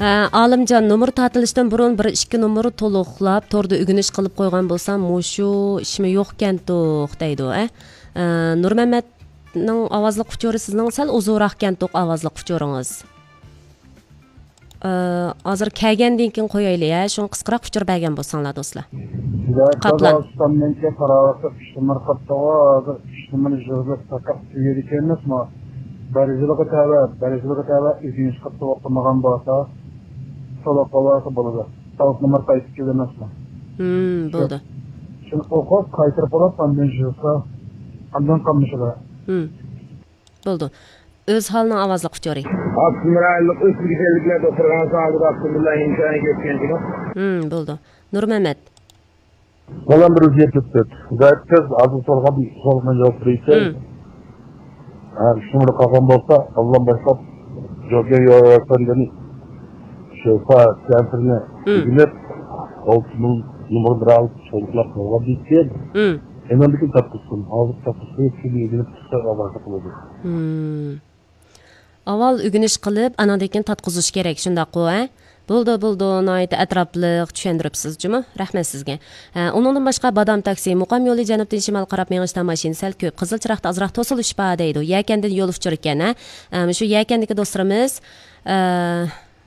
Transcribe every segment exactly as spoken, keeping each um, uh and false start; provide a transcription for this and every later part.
ئالىمجان، نومۇر تارتىلىشتىن بۇرۇن بىر ئىككى نومۇر تولۇقلاپ، توردا ئۆگىنىش قىلىپ قويغان بولسام، مۇشۇ ئىشمۇ يوقكەنتۇق دەيدۇ. ئە، نۇرمەمەتنىڭ ئاۋازلىق ئۇچۇرى سىزنىڭ سەل ئۇزۇنراقكەنتۇق، ئاۋازلىق ئۇچۇرىڭىز. ئە، ھازىر كەلگەندىن كېيىن قويايلى، ھە، شۇڭا قىسقىراق ئۇچۇر بەرگەن بولساڭلار، دوستلار. قاپلان. ئۈچ نومۇر قاپتىغۇ، ھازىر ئۈچ نومۇر يىغىلىپ پەقەت تۈگىدىكەن ئەمەسمۇ؟ دەرىجىلىكى تەۋە، دەرىجىلىكى تەۋە ئۆگىنىش قىلىپ ئوقۇمىغان بولسا، سولاپ قالسا بولىدۇ. تاۋۇت نومۇر قايتىپ كېلىدۇ ئەمەسمۇ؟ ھىم، بولدى. شۇنى ئوقۇپ، قايتۇرۇپ ئالاپ، ئاندىن يىغسا، ئاندىن قالمىشىدۇ. ھىم، بولدى. ئۆز ھالىنىڭ ئاۋازلىق ئۇچۇرى. ئاپتونوم رايونلۇق ئۆسمۈرگە تەۋەلىكلەر دوختۇرخانىسىنىڭ ئالدىدا ئاپتونوم رايون ئىمكانىيەتكە يەتكەن كىنو. ھىم، بولدى. نۇرمەمەت. بالام بىر ئۆزگەرتىپ، غايەت تېز، ھازىر سورىغان سوئالغا جاۋاب بېرىسەن. ھىم. ھە، شۇنداق قالغان بولسا، بالام باشلاپ جوگەن يوسەندىن شوفا كەمپىرنى ھىم. ئۆگىنىپ، ئالتە مىڭ نومۇر بىر ئالىپ سولاپ قالغان دېيىشكەن. ھىم. ئېنىڭدىكى تارتقۇزسۇن، ھازىر تارتقۇزسۇن، شۇنى ئۆگىنىپ چىقسا ئاۋازلىق بولىدۇ. ھىم. ئاۋۋال ئۆگىنىش قىلىپ، ئاناندىن كېيىن تارتقۇزۇش كېرەك، شۇنداققۇ، ھە؟ بولدى، بولدى، ناھايىتى ئەتراپلىق چۈشەندۈرۈپسىز جۇمۇ، رەھمەت سىزگە. ھە، ئۇنىڭدىن باشقا، بادام تاكسى، مۇقام يولى جەنۇبتىن شىمالغا قاراپ مېڭىشتا ماشىنا سەل كۆپ، قىزىل چىراغدا ئازراق توسۇلۇش بار دەيدۇ. يەكەندىن يول ئۇچۇرى ئىكەن، ھە؟ ھە، مۇشۇ يەكەندىكى دوستلىرىمىز، ئە،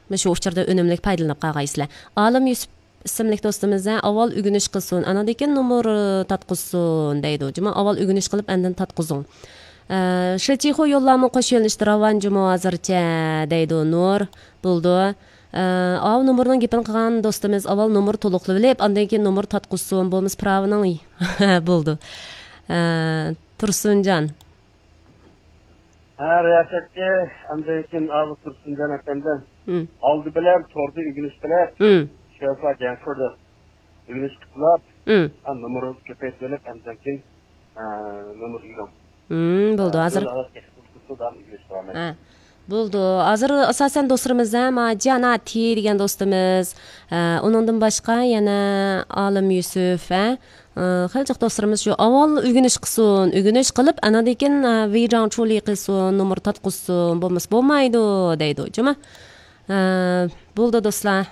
مۇشۇ ئۇچۇردىن ئۈنۈملۈك پايدىلىنىپ قالغايسىلەر. ئالىم يۈسۈپ ئىسىملىك دوستىمىز، ھە، ئاۋۋال ئۆگىنىش قىلسۇن، ئاناندىن كېيىن نومۇر تارتقۇزسۇن دەيدۇ. جۇمۇ، ئاۋۋال ئۆگىنىش قىلىپ، ئاندىن تارتقۇزۇڭ. ئە، شىچىخۇ يوللارمۇ قوش يۆنىلىشتە راۋان جۇمۇ ھازىرچە دەيدۇ نۇر. بولدى. ئە، ئاۋۇ نومۇرنىڭ گېپىنى قىلغان دوستىمىز ئاۋۋال نومۇر تولۇقلىۋېلىپ، ئاندىن كېيىن نومۇر تارتقۇزسۇن، بولمىسا پىراۋىنىڭ. بولدى. ئە، تۇرسۇنجان. ھە، رىياسەتچى، ئاندىن كېيىن ئاۋۇ تۇرسۇنجان ئەپەندىم. ھىم. ئالدى بىلەن توردا ئۆگىنىش قىلىپ، ھىم. شوفا جەنفوردا ئۆگىنىش قىلىپ، ھىم. ھە، نومۇر كۆپەيتىۋېلىپ، ئاندىن كېيىن، ھە، نومۇر ئۆگىنىڭ. ھىم، بولدى، ھە، ھازىر. بىر ئاۋاز تېخى تۇتقۇزسا داۋام ئۆگىنىش داۋام ھە. بولدى. ھازىر ئاساسەن دوستلىرىمىز، ھە، ما جاناتى دېگەن دوستىمىز، ھە، ئۇنىڭدىن باشقا يەنە ئالىم يۈسۈپ، ھە، ئى، خېلى جىق دوستلىرىمىز شۇ ئاۋۋال ئۆگىنىش قىلسۇن، ئۆگىنىش قىلىپ، ئاناندىن كېيىن، ئە، ۋېيجاڭ چۇلى قىلسۇن، نومۇر تارتقۇزسۇن، بولمىسا بولمايدۇ دەيدۇ، جۇمۇ. ئە، بولدى دوستلار.